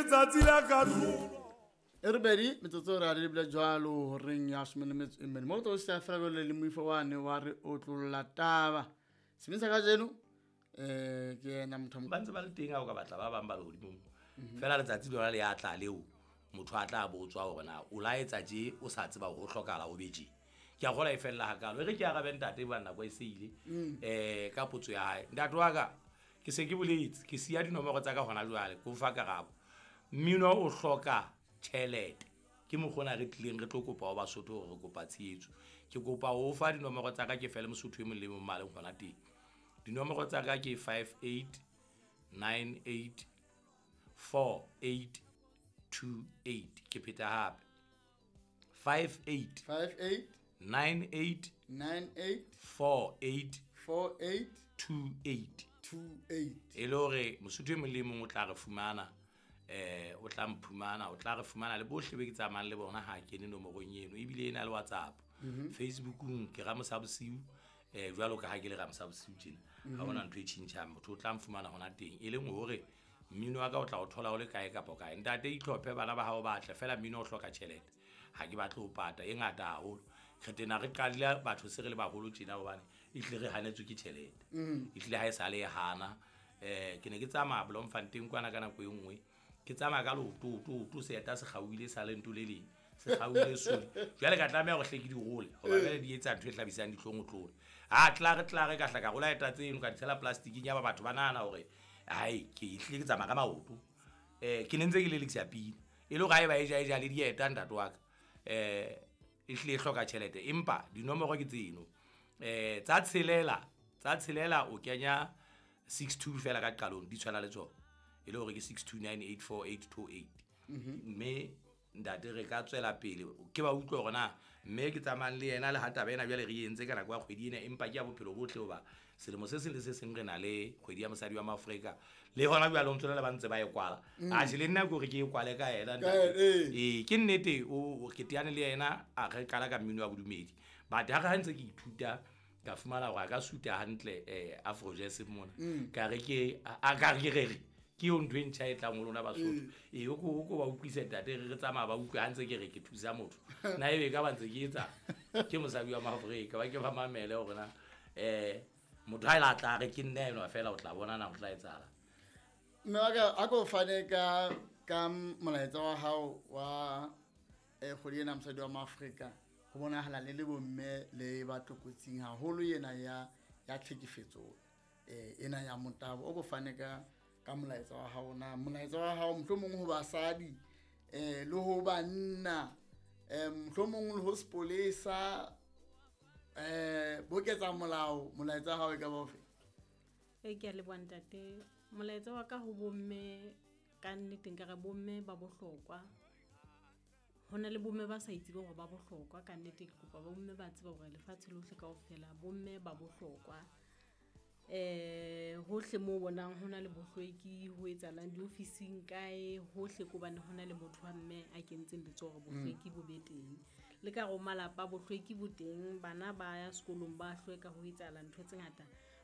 letsatsi la kahlolo. E rebedi metsotso re a lebile jwalo horeng ya 14 mo to se fela jwale le moifo wane wa re otlolla taba sebeng sa kajeno ke yena motho ba ntse ba le teng ha o ka batla ba bang ba lehodimong fela letsatsi lona le ya tla leo motho a tla botswa hore na o laetsa tje o sa tseba hore o hlokahala o be tje. Ke a kgolwa e fella hakalo. E re ke arabe ntate ba nako e se ile ka potso ya hae. Ntate wa ka ke se ke boletse ke siya dinomoro tsa ka hona jwale ke o fa karabo. Mmino o hloka tjhelete. Ke mokgona re tlileng re tlo kopa ho Basotho hore re kopa tshehetso. Ke kopa ho fa dinomoro tsa ka ke fele Mosotho e mong le mong maleng hona teng. Dinomoro tsa ka ke 58 98 48 28. Ke pheta hape. 58 58 98 98 48 48 28. 28. E le hore Mosotho e mong le mong o tla re fumana, o tla mphumana, o tla re fumana le bohle be ke tsamayang le bona ha kene nomorong eno. Ebile e na le WhatsApp. Facebookong ke Ramosa Bosiu, jwalo ka ha ke le Ramosa Bosiu tjena. Ha hona ntho e tjhentjhang, motho o tla mfumana hona teng. E leng hore mmino wa ka o tla o thola o le kae kapa kae. Ntate itlhophe bana ba hao ba tle, fela mmino o hloka tjhelete. Ha ke batle ho pata e ngata haholo. Re tena re qadile batho se re le baholo tjena hobane e hlile re hanetswe ke tjhelete. E hlile ha e sale e hana. Ke ne ke tsamaya Bloemfontein kwana ka nako e nngwe. Ke tsamaya ka leoto, oto, oto, seeta se kgaohile sa lento le leng. Se kgaohile sole. Jwale ka tlameha hore hle ke di role, hoba jwale di etsa ntho e hlabisang dihlong ho tlola. Ha tlare tlare ka hla ka rola eta tseno ka di tshela plasticing ya ba batho ba nahana hore hai ke hlile ke tsamaya ka maoto. Ke ne ntse ke le lekisa pina. E le hore ha eba e ja e ja le dieta ntate wa ka. E hlile e hloka tjhelete empa dinomoro ke tseno. Tsa tshelela o kenya 62 fela ka qalong di tshwana le tsona. E le hore ke 62984828. Mme ntate re ka tswela pele ke ba utlwe hore na mme ke tsamayang le yena le ha taba ena jwale re e entse ka nako ya kgwedi ena empa ke ya bophelo bohle hoba selemo se seng le se seng re na le kgwedi ya mosadi wa Maafrika le hona jwale o ntse le ba ntse ba e kwala. Atjhe le nna ke hore ke e kwale ka yena ntate. Ke nnete o ke teane le yena a re qala ka mmino wa bodumedi. But ha re ha ntse ke ithuta ka fumana hore a ka suta hantle Afro jazz mona. Ka re ke a ka re ke re ke yo ntho e ntjha e tlang ho lona Basotho. O ko ba utlwise ntate re tsamaya ba utlwe ha ntse ke re ke thusa motho. Na ebe ka ba ntse ke etsa ke mosadi wa Maafrika ba ke ba mamele hore na motho ha e la tla re ke nna enwa fela o tla bona na ho tla etsahala. Mme wa ka a ko fane ka molaetsa wa hao wa kgwedi ena mosadi wa Maafrika ho bonahala le le bomme le ba tlokotsing haholo ena ya tlhekefetso ena ya motabo. O ko fane ka molaetsa wa hao na molaetsa wa hao mohlomong ho basadi le ho banna mohlomong le ho sepolesa boketsa molao molaetsa wa hao e ka ba ofe? Ke a leboha ntate. Molaetsa wa ka ho bomme ka nnete nka re bomme ba bohlokwa. Ho na le bomme ba sa itsebeng hore ba bohlokwa ka nnete ke kopa bomme ba tsebe hore lefatshe lohle kaofela bomme ba bohlokwa. Hohle moo bonang ho na le bohlweki ho etsahalang diofising kae hohle ko bane ho na le motho wa mme a kentseng letsoho hore bohlweki bo be teng. Le ka hare ho malapa bohlweki bo teng, bana ba ya sekolong ba hlweka ho etsahala ntho tse ngata.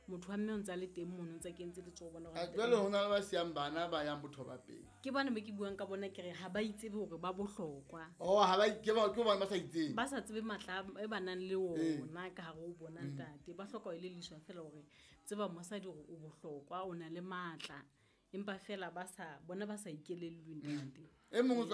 Motho wa mme o ntsa le teng mono, o ntsa kentse letsoho bona hore Jwale ho na le ba siyang bana ba yang botho ba pele. Ke bona be ke buang ka bona ke re ha ba itsebe hore ba bohlokwa. Oh, ha ba ke ba ke bona ba sa itsebe. Ba sa tsebe matla e ba nang le ona ka hare ho bona ntate. Ba hloka ho elelliswa fela hore tseba mosadi hore o bohlokwa, o na le matla. Empa fela ba sa bona ba sa ikelellwe ntate. E mong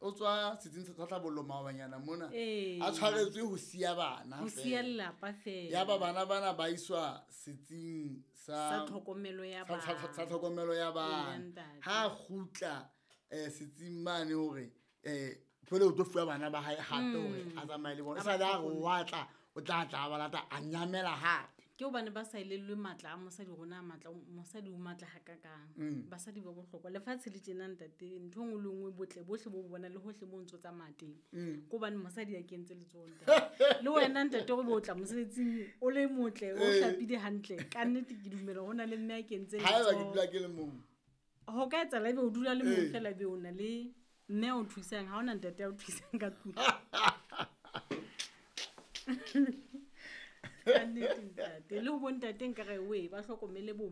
o tswa setsing sa tlhabollo maobanyana mona. A tshwaretswe ho siya bana Ho siya lelapa fela. Ya ba bana bana ba iswa setsing sa tlhokomelo ya bana. sa tlhokomelo ya bana. Ntate. Ha kgutla setsing mane hore pele o tlo fuwa bana ba hae hape hore a tsamaye le bona. A Sa le a re ba wa tla, o tla tla ba lata a nyamela hape. Ke hobane ba sa elellwe matla a mosadi rona matla mosadi o matla hakakang. Basadi ba bohlokwa lefatshe le tjena ntate ntho e nngwe le nngwe botle bohle bo bona le hohle mo ntso tsamaya teng. Ke hobane mosadi a kentse letsoho ntate. Le wena ntate o bo tla mosebetsing o le motle o hlapile hantle ka nnete ke dumela ho na le mme a kentse Haeba ke letsoho. dula ke le mong. Ho ka etsahala ebe o dula le mong fela ebe o na le mme o thusang ha ona ntate a o thusang ka tlung. Ka nnete ntate le ho bontate nka re we ba hlokomele bo